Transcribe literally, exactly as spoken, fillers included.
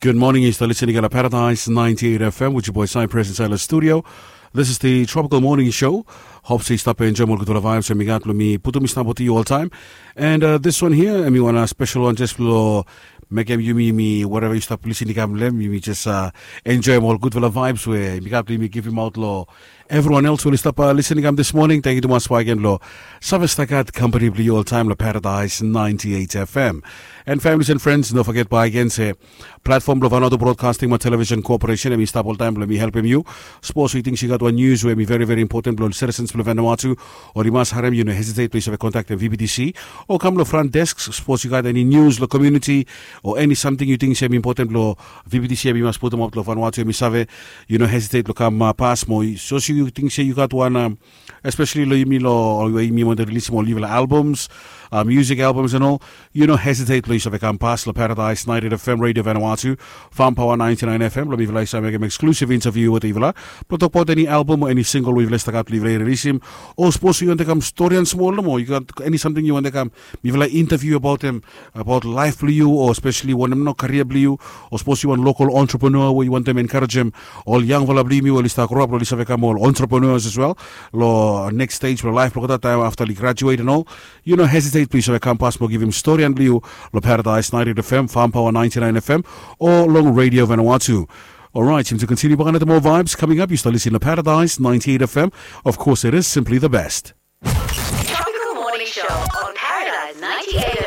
Good morning, yu stap listening long Paradise ninety-eight F M with your boy Cypress inside the studio. This is the Tropical Morning Show. Hope se yu stap enjoy ol gudfala vibes we mi gat blong mi putum i stap with you all time. And uh, this one here, em i wan uh, special one just lo mekem yumi mi whatever yu stap listening kam lem, yumi just uh, enjoy ol gudfala vibes we mi gat blong mi givim out lo everyone else we oli stap uh, listening kam this morning. Thank you tumas baigen lo save stagat company blong yu all time lo Paradise ninety-eight F M. And families and friends, no forget baigen se platform blong Vanuatu Broadcasting mo Television Corporation em i stap oltaem blong mi helpem yu. Sapos yu ting se yu gat wan news we em i very very important blong citizens blong Vanuatu, o yu mas harem, yu no hesitate blong yu save kontaktem V B T C o kam long front desk. Sapos yu gat eni news long community o eni samting yu ting se em important blong V B T C em i mas putum op long Vanuatu em i save, yu no hesitate blong kam uh, pas mo sapos yu ting se yu gat wan um, especially lo yumi lo we yumi wantem rilisim ol yufala albums, uh, music albums and all, yu no hesitate lo yu save kam pas lo Paradise ninety-eight F M Radio Vanuatu, Farm Power ninety-nine F M lo mifala i save mekem exclusive interview wetem yufala blong tokbaot eni album o eni single we yufala i stap gat blong yufala i rilisim. O sapos yu wantem kam storian smol nomo, yu gat eni samting yu wantem kam mifala interview abaotem, abaot laef blong yu o especially wanem no karia blong yu, o sapos yu wan local entrepreneur we yu wantem enkarejem ol yangfala blong yumi we oli stap grow up oli save kam ol entrepreneurs as well lo next stage blong laef blong olgeta taem afta oli graduate and all. Yu no hesitate blong yu save kam pas mo givim storian blong yu lo Paradise ninety-eight F M, Farm Power ninety-nine F M o long Radio Vanuatu. Alright, time to continue baka nata more vibes coming up. You start listening to Paradise ninety-eight F M. Of course, it is simply the best. Tropical Morning Show on Paradise ninety-eight